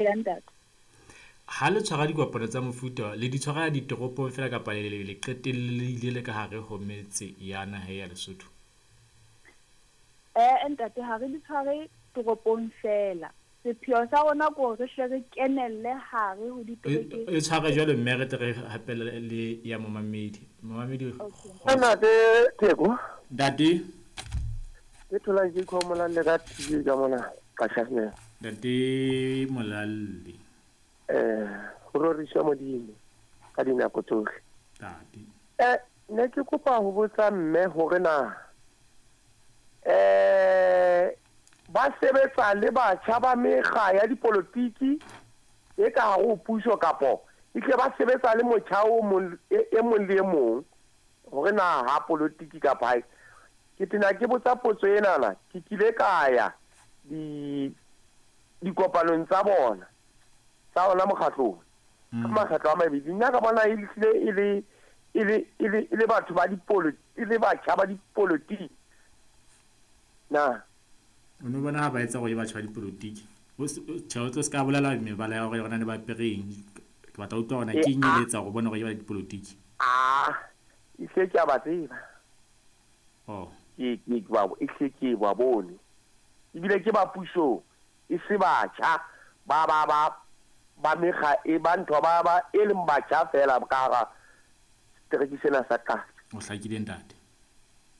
Ya ntate. Ha le tshwara dikopano tsa mofuta le di tshwara ditoropong fela kapa le le qetellile le ka hare ho metse ya naha ya Lesotho? Eh ntate, ha re di tshware toropong fela. Sepheo sa rona ke hore re hle re kenelle hare ho ditereke. E tshware jwalo mme re tle re hapele le ya momamedi. Momamedi. Ntate Theko. Ntate. Ke thola ke khomola le ka TV ka mona Qashasne. Ntate Molalle. Ho roriswa Modimo ka dinako tsohle. Ntate. Ne ke kopa ho botsa mme hore na ba sebetsa le batjha ba mekga ya dipolotiki e ka hare ho puso kapo e tle ba sebetsa le motjha o mong e mong le e mong hore na ha polotiki kapa hae. Ke tena ke botsa potso enana, ke kile ka ya di dikopanong tsa bona tsa ona mokgatlong ka makgetlo a mabedi. Nna ka bona e hlile e le e le e le e le batho ba dipolo e le batjha ba dipolotiki na. O no bona ha ba etsa hore batjha ba dipolotiki. Tjhe, o tlo se ka bolela mebala ya hore yona ne ba apereng. Ke batla ho utlwa hore na ke eng e etsa hore o bone hore ke ba dipolotiki. A e hle ke a ba tseba. Oh. Ke ke ba e hle ke ba bone. Ebile ke ba pusong e se batjha ba ba ba ba mekga e ba ntho ba ba e leng batjha fela ka hara setereke sena sa Qatso. O hlakile ntate.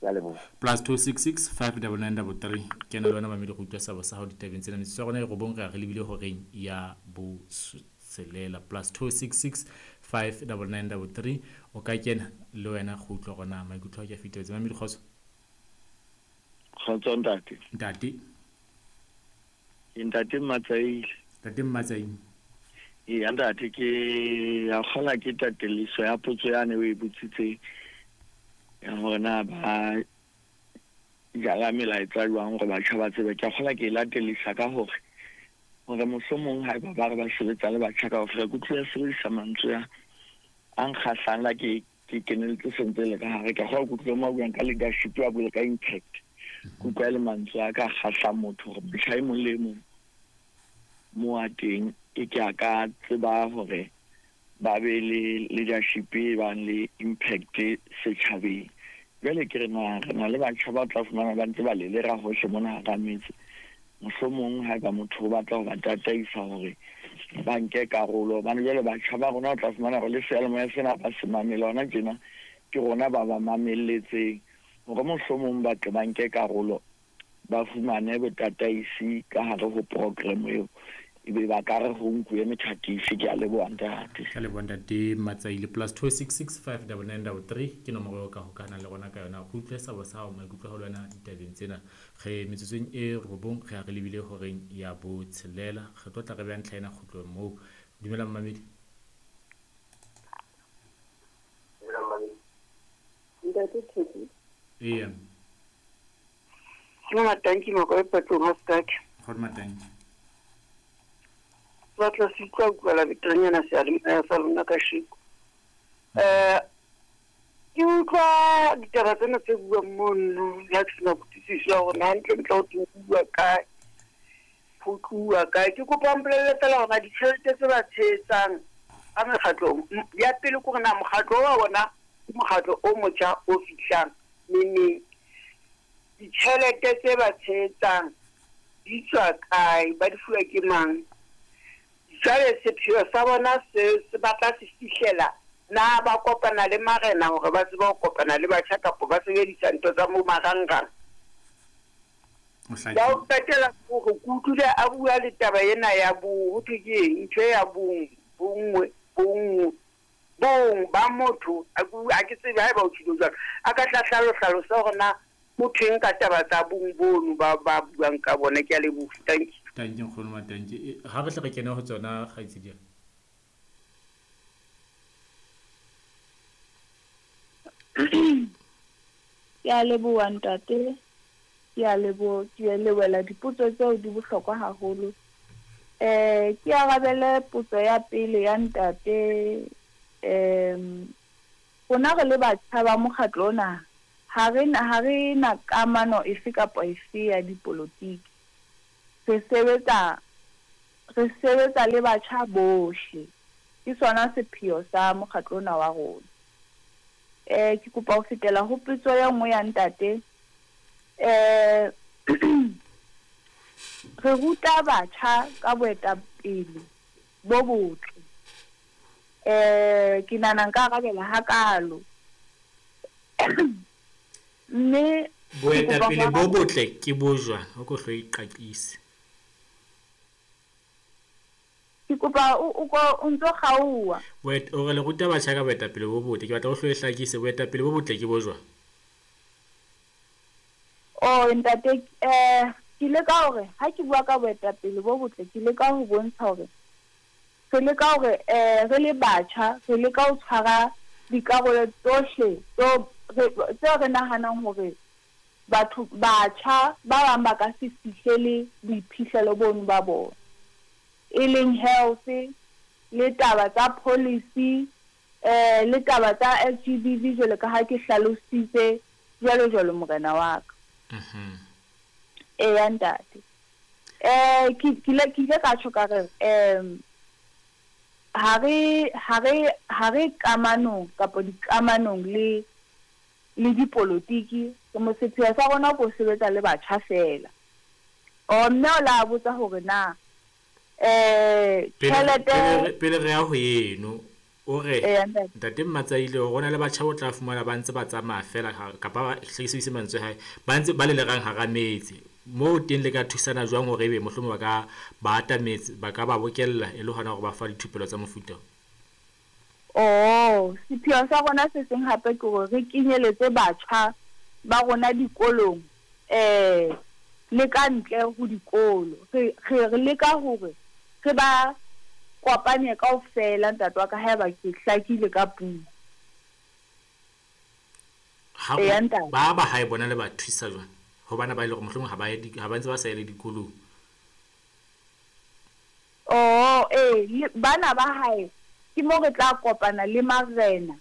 Ya leboha. +266 59933 kena le wena mamedi go utlwa seabo sa hao ditabeng tsena. Metsotso ya rona e robong re ya re lebile horeng ya botshelela. +266 59933 o ka kena le wena go utlwa hore na maikutlo a ke a fetetse. Mamedi kgotso. Kgotso ntate. Ntate. Ke ntate Mmatsaile. Ntate Mmatsaile. Eya ntate, ke ya kgola ke tateliso ya potso yane o e botsitseng ya hore na ba jala melaetsa jwang hore batjha ba tsebe. Ke a kgola ke e latelisa ka hore hore mohlomong haeba ba re ba sebetsa le batjha kaofela, ke utlwile sebedisa mantswe a nkgahlang la ke ke keneletse sentse le ka hare. Ke a kgola ke utlwile mo a buang ka leadership, a bue ka impact. Ke utlwa e le mantswe a ka kgahlang motho hore motjha e mong le e mong mo a teng e ke a ka tseba hore ba be le leadership e bang le impact setjhabeng. Jwale ke re na re na le batjha ba tla fumana ba ntse ba lelera hohle mona hara metse. Mohlomong haeba motho o batla ho ba tataisa hore ba nke karolo, hobane jwale batjha ba rona o tla fumana hore le seyalemoya sena ba se mamele hona tjena, ke rona ba ba mamelletseng hore mohlomong ba tle ba nke karolo, ba fumane botataisi ka hare ho program eo, ebe ba ka re ho nkuwe methatifi. Ke a leboha ntate. Ka leboha ntate Matsaile. +266 59933 ke nomoro eo ka hokahanang le rona ka yona. Go utlwe sabo sa hao, maikutlo a hao le wena ditabeng tsena. Re metsotsong e robong re ya re lebile horeng ya botshelela. Re tlo tla re beha ntlha ena kgutlong moo. Dumela mmamedi. Ntate Theko. Eya. Ke Matanki Makoe Patlong ha Sekake. Kgone Matanki. Ke batla se utlwa utlwela beterenyana seyalemoya sa lona kasheko. Ke utlwa ditaba tsena tse buang mono, le ha ke sena kutlwisiso ya hore na hantlentle ho thwe ho bua kae, ho tluwa kae. Ke kopa o mpolelle feela hore na ditjhelete tse ba tshehetsang ka mekgatlong, ya pele ke hore na mokgatlo wa bona ke mokgatlo o motjha o fihlang neneng. Ditjhelete tse ba tshehetsang di tswa kae, ba di fuwa ke mang? Jwale sepheo sa bona se se batla se fihlela na ba kopana le marena hore ba tsebe ho kopana le batjha kapa ba sebedisa ntho tsa mo marangrang. Ya ho qetela hore ke utlwile a bua le taba ena ya bo ho thwe ke eng ntho ya bong bonngwe bonngwe bong ba motho a ke tsebe haeba o tjhilo jwalo a ka tla hlalosa hore na ho thweng ka taba tsa bong bono ba ba buang ka bona. Ke a leboha. Thank you. Thank you nkgono Matanki. Ha re tle re kene ho tsona kgaitsedi. Ke a leboha ntate. Ke a leboha, ke lebohela dipotso tseo di bohlokwa haholo. Ke arabele potso ya pele ya ntate. Rona re le batjha ba mokgatlo ona ha re na kamano efe kapa efe ya dipolotiki. Re sebetsa Re sebetsa le batjha bohle. Ke sona sepheo sa mokgatlo ona wa rona. Ke kopa ho fetela ho potso e nngwe ya ntate. Re ruta batjha ka boetapele bo botle. Ke nahana nka arabela hakalo. Mme boetapele bo botle ke bo jwang? O ko hlo iqaqise. Ke kopa o ntso kgaoha. O re le ruta batjha ka boetapele bo botle. Ke batla o hlo e hlakise, boetapele bo botle ke bo jwang? Oh ntate, ke leka hore ha ke bua ka boetapele bo botle, ke leka ho bontsha hore re leka hore re le batjha, re leka ho tshwara dikarolo tsohle tseo re nahanang hore batho batjha ba bang ba ka se fihlele boiphihlelo bono ba bona. E leng health, le taba tsa policy, le taba tsa SGBV jwalo ka ha ke hlalositse jwalo jwalo morena wa ka. Eya ntate. Ke ile ka tjho ka re ha re kamanong kapa dikamanong le dipolotiki, sepheo sa rona ke ho sebetsa le batjha feela. Mme o la botsa hore na tjhelete pele re ya ho eno, o re ntate Mmatsaile hore hona le batjha o tla fumana ba ntse ba tsamaya feela kapa ba hlekisise mantswe hae, ba ntse ba lelegang hara metse. Moo teng le ka thusana jwang hore ebe mohlomong ba ka ba atametse, ba ka ba bokella e le hona hore ba fa dithupelo tsa mofuta? Oh, sepheo sa rona se seng hape ke hore re kenyeletse batjha ba rona dikolong le ka ntle ho dikolo. Re leka hore re ba kopanye kaofela ntate wa ka haeba ke hlakile ka puo. Ba ba hae bona le ba thusa jwang? Hobane ba ile hore mohlomong ha ba ntse ba sa ye le dikolong. Oh, bana ba hae ke mo re tla kopana le marena.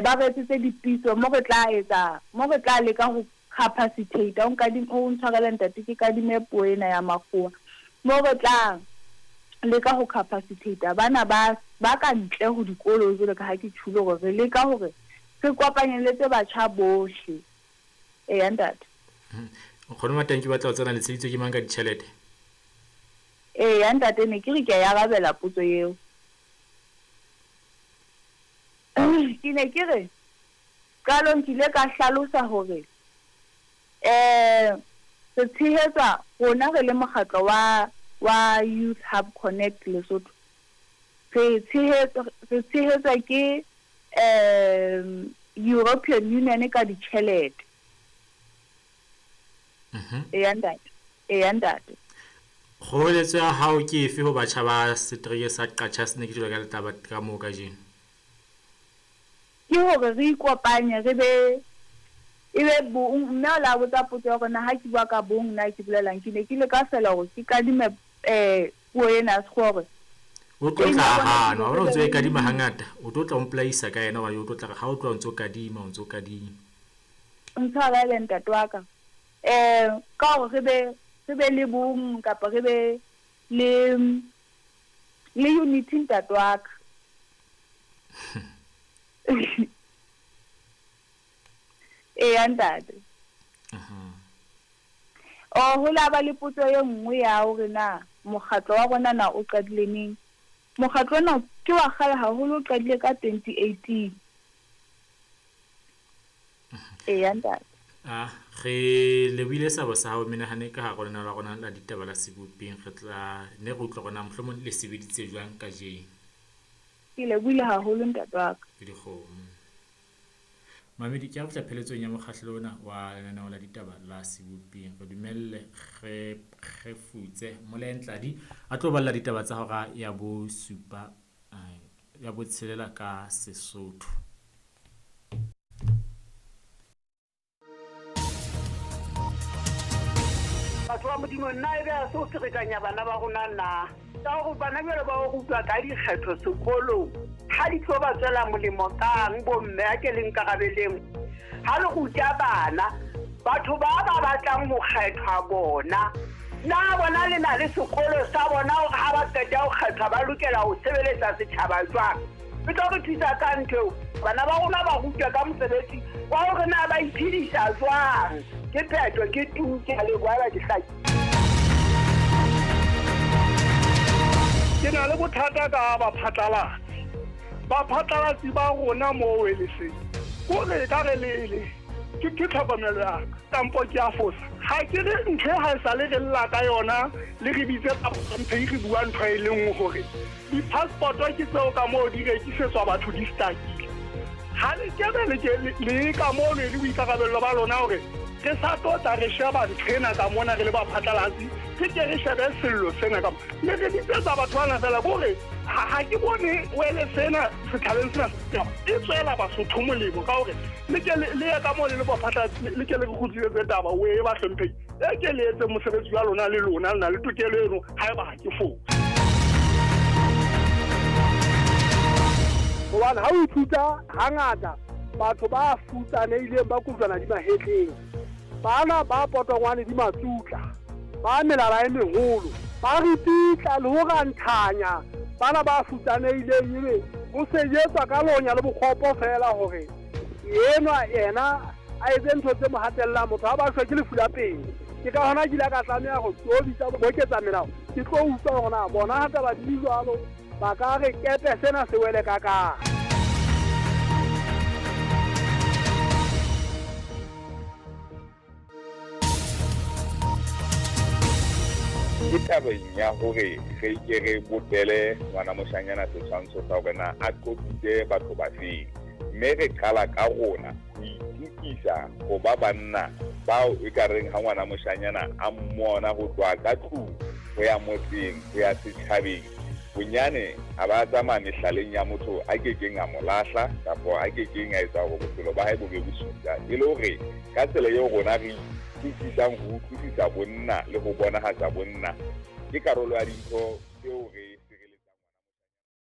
Ba re etsetse dipitso mo re tla etsa, mo re tla leka ho capacitate. O ntshwarele ntate, ke kadime puo ena ya makgowa. Mo re tla leka ho capacitate bana ba ka ntle ho dikolo jwalo ka ha ke tjhulo hore re leka hore re kopanyeletse batjha bohle. Eya ntate. Nkgono Matanki batla ho tsena le tsheditso ke mang ka ditjhelete? Eya ntate, ne ke re ke a arabela potso eo. Ke ne ke re qalong ke ile ka hlalosa hore re tshehetsa rona re le mokgatlo wa Youth Hub Connect Lesotho. Re tshehetswa ke European Union ka ditjhelete. Eya ntate. Eya ntate. Kgoeletso ya hao ke efe ho batjha ba setereke sa Qacha's Nek jwalo ka letaba ka moo kajeno? Ke hore re ikopanye, re be e be bong. Mme o la botsa potso ya hore na ha ke bua ka bong na ke bolelang. Ke ne ke leka feela hore ke kadime puo ena ya sekgowa hore o tlo tla hana, hore o ntso e kadima hangata, o tlo tla o mpolaisa ka yena hobane o tlo tla re ha o tloha o ntso kadima, o ntso kadima. Ntshwarele ntate wa ka. Ka hore re be le bong kapa re be le unity ntate wa ka. Eya ntate. Ho la ba le potso e nngwe ya hore na mokgatlo wa rona na o qadile neng. Mokgatlo ona ke wa kgale haholo, o qadile ka 2018. Eya ntate. Re lebohile sabo sa hao menahane ka hare lena la rona la ditaba la sebopeng. Re tla ne re utlwa rona mohlomong le sebeditse jwang kajeno. Ke lebohile haholo ntate wa ka. Ke dikgomo. Mamedi, ke a fihla pheletsong ya mokgahlelo ona wa lenaneo la ditaba la sebopeng. Re dumelle re kgefutse Molentladi a tlo balla ditaba tsa hora ya bosupa ya botshelela ka Sesotho. Batho ba Modimo, nna ebe a se o ferekanya bana ba rona na? Ka hore bana jwale ba o rutwa ka dikgetho sekolong, ha di tlo ba tswela molemo kang bomme a ke le nkarabeleng? Ha le ruta bana, batho ba ba batlang ho kgethwa bona, Na bona le na le sekolo sa bona hore ha ba qeta ho kgethwa ba lokela ho sebeletsa setjhaba jwang? E tlo re thusa ka ntho eo. Bana ba rona ba rutwe ka mosebetsi wa hore na ba iphedisa jwang. Ke phetho, ke tu, ke a leboha haeba ke hlakile. Ke na le bothata ka baphatlalatsi. Baphatlalatsi ba rona moo Weleseng, kore ekare le le ke ke tlhokomelo ya ka kampo ke a fosa. Ha ke re ntho e ha e sale re lla ka yona le re bitse bahlomphehi re bua ntho e le nngwe hore di-passport ke tseo ka moo di rekisetswa batho di stakile. Ha le kebe le ke le ka mono e le boikarabello ba lona hore re sa tlo tla re sheba ntho ena ka mona re le baphatlalatsi re ke re shebe sello sena ka le re bitsetsa batho bana fela kore ha ke bone wele sena setjhabeng sena e tswela Basotho molemo ka hore le ke le ye ka moo le le baphatlalatsi le ke le re kgutlisetse taba o e bahlomphehi e ke le etse mosebetsi wa lona le lona le na le tokelo eno haeba ha ke fose. Hobane ha o ithuta hangata batho ba futsanehileng ba kojwana di mahetleng, bana ba potongwane di matsutla, ba melala e meholo, ba ripitla le ho ranthanya bana ba futsanehileng, ebe ho sejetswa ka lonya le bokgopo feela hore enwa yena a etse ntho tse mo hatellang. Motho ha ba shwe ke lefu la pelo. Ke ka hona ke ile ka tlameha ho tlo bitsa boketsa melao, ke tlo utlwa hore na bona ha taba di le jwalo ba ka re kepe sena se wele ka kae. Ke tabeng ya hore re ke re bopele ngwana moshanyana setshwantsho sa hore na a qotsitse batho ba feng, mme re qala ka rona ho itukisa ho ba banna bao e ka reng ha ngwana moshanyana a mmona ho tloha ka tlung ho ya motseng ho ya setjhabeng, bonyane a ba tsamaya mehlaleng ya motho a kekeng a mo lahla kapa a kekeng a etsa hore bophelo ba hae bo be bosula, e le hore ka tsela eo rona re itukisang ho utlwisisa bonna le ho bonahatsa bonna ke karolo ya dintho tseo re